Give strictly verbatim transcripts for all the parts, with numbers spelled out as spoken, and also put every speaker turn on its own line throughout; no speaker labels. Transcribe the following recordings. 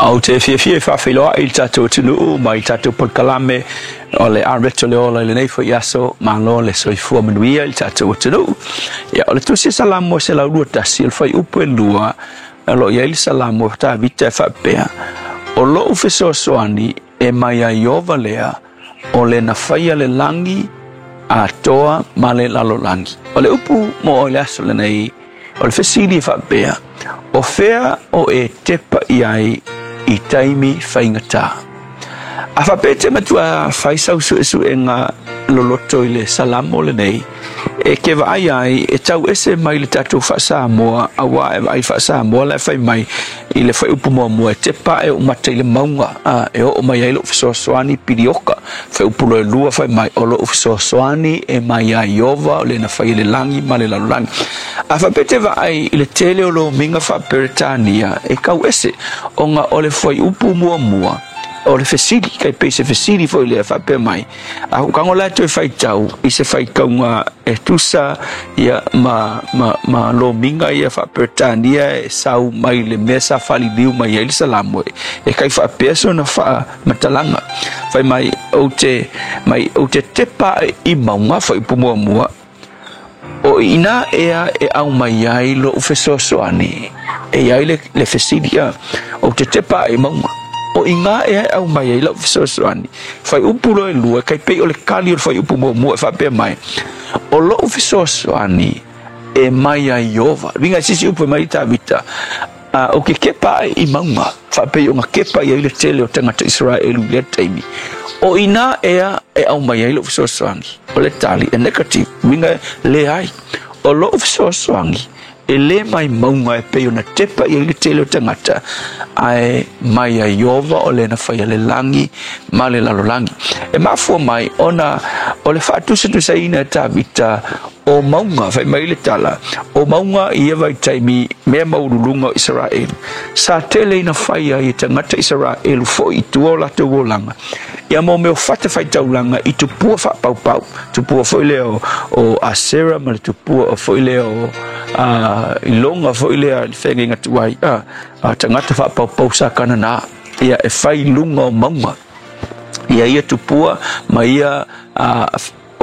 Ou te fiafia e faafeiloai i le tatou atunuu mai i tatou polokalame o le Areto le Ola i lenei foi aso. Malo le soifua manuia i le tatou atunuu. Ia, o le tusi Salamo e selau lua tasi, o le fuaiupu e lua, o lo o i ai le Salamo Tavita e faapea, o lou fesoasoani e mai ia Ieova lea, o le na faia le lagi atoa ma le lalolagi. O le upu mo oe i le aso lenei, o le fesili e faapea, o fea o e tepa i ai i taimi faigata? A faapea e te matua fai sau suesuega loloto i le Salamo lenei, e ke vaai ai e tau ese mai le tatou faa-Samoa, auā e vaai faa-Samoa la e fai mai i le fuaiupu muamua, e tepa ae ou mata i le mauga, a, e oo mai ai lou fesoasoani pilioka. Fuaiupu lua lua fai mai, o lou fesoasoani e mai ia Ieova, o le na faia le lagi ma le lalolagi. A faapea e te vaai i le tele o lomiga faa-Peretania, e kau ese, ona o le fuaiupu muamua o le fesili, kai pei se fesili foi lea faapea mai, a hukango la toe faitau i se faitauga e tusa ia ma, ma, ma lomiga ia faa-Peretania e sau mai le mea sa faaliliu mai ai le Salamo, e kai faapea sona faamatalaga. Fai mai, ou te, mai, ou te tepa i mauga, fuaiupu muamua, o i ina ea e au mai ai lou fesoasoani, e i ai le, le fesili, a, ou te tepa i mauga, o i ngā ea e au mai ai lau fesoasoani. Fuaiupu loa e lua, kai pei o le kali o le fuaiupu muamua e faapea mai, o lou fesoasoani e mai ia Ieova. Uiga i sisi upu e mai Tavita, uh, o ke kepa ai i mauga, faapei o nga kepa i ai le tele o tagata Israelu i lea taimi. O ina ea e au mai ai lou fesoasoani? O le tali e negative, uiga leai. O lou fesoasoani e le mai mauga e pei ona tepa i ai le tele o tagata, ae mai ia Ieova o le na faia le lagi ma le lalolagi. E mafua mai ona o le faatusatusaina e Tavita o mauga, fai mai le tala, o mauga i ia vaitaimi mea maualuluga o Isaraelu. Sa tele ina fai ai e tagata Isaraelu foi i tua o latou olaga, ia mo mea o fatafaitaulaga i tupua faapaupau, tupua foi lea o, o Asera ma le tupua foi lea o uh, iloga foi lea i feagaiga tuai, uh, uh, tagata faapaupau sa Kanana, ia e fai luga o mauga ia ia tupua ma ia uh,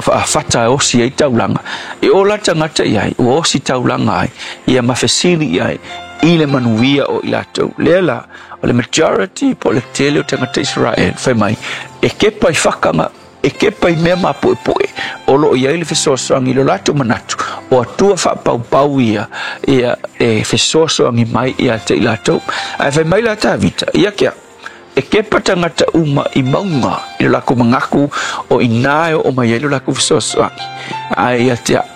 fata e osi ai taulaga. E ola tagata i ai, ua osi taulaga ai, ia ma fesili i ai i le manuia o i latou. Lea la, o le majority po o le tele o tagata Israel, fai mai, e kepa i fakanga, e kepa i mea mapuepue, o loo i ai le fesoasoani i lo latou manatu, o atua faapaupau ia, ia e fesoasoani mai ia te i latou. Ae fai mai la Tavita, ia ke au, e kepa tagata uma i mauga i lo lakou manatu o ina e oo mai ai lo lakou fesoasoani. Ae ia te au,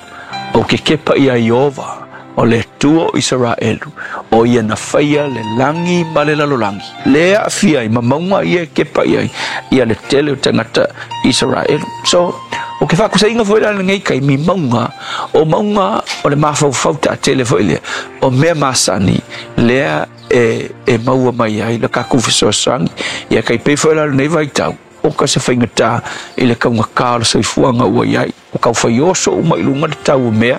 ou ke kepa ia Ieova, o le Atua o Isaraelu, o ia na faia le lagi ma le lalolagi. Le aafia ai ma mauga ia e kepa i ai ia le tele o tagata Isaraelu. So, o ke faakusaiga foi la lenei taimi mauga, o mauga o le mafaufau taatele foi lea, o mea masani lea e, e maua mai ai le kakou fesoasoani. Ia kai pei foi la lenei vaitau, o ka se faigata i le kaugatā o le soifuaga ua i ai, o taufai oso uma i luga le tau o mea,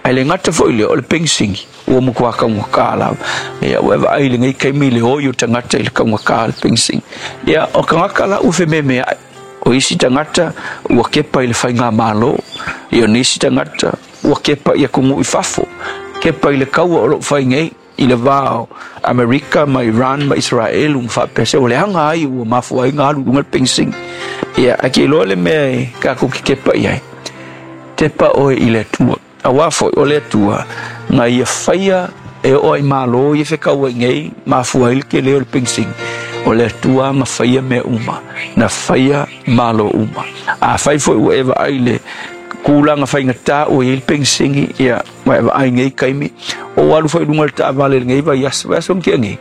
ae le gata foi lea o le pegisini ua matua kaugatā lava. Ia ua e vaai i lenei taimi i le oi o tagata i le kaugatā o le pegisini. Ia o tagata la ua fememeai, o isi tagata ua kepa i le faigamālō, ia o nisi tagata ua kepa i atunuu i fafo, kepa i le kaua o loo fai nei i le va o Amerika ma Iran ma Israelu ma faapea se ua leaga ai ua mafua ai ona alu i luga le pegisini. Ia ae ke iloa le mea e tatou te kepa i ai, tepa oe i le Atua, auā foi o le Atua na ia faia e oo ai mālō ia fekauai nei mafua ai le tele o le pegisini. O le Atua na faia mea uma, na faia mālō uma. Afai foi ua e vaai i le tulaga faigata ua i ai le pegisini, ia ua e vaai i nei taimi, o alu foi i luga o le taavale i lenei vaiaso, vaiaso na tea nei,